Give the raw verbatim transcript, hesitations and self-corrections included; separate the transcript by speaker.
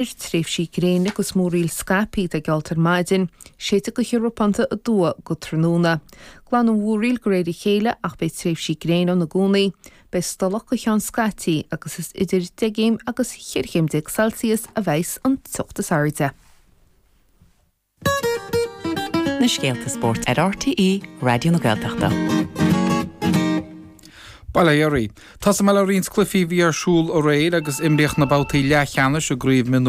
Speaker 1: Tréimhsí gréine agus múraíl scaipthe atá geallta ar maidin, séidfidh gaoth ropánta aduaidh go tráthnóna. Glanfaidh an mhúraíl de réir a chéile ach beidh tréimhsí gréine ann i gcónaí. Beidh stolladh go ceann scaití agus is idir deich gcéim agus cheithre chéim déag Celsius a bheas an teocht is airde.
Speaker 2: Na scéalta spóirt ar RTÉ Raidió na Gaeltachta.
Speaker 3: Bail ó Dhia. Tá mé le roinnt cluichí a bhí ar siúl aréir agus imríodh na babhtaí leathcheannais i gcraobh mionúr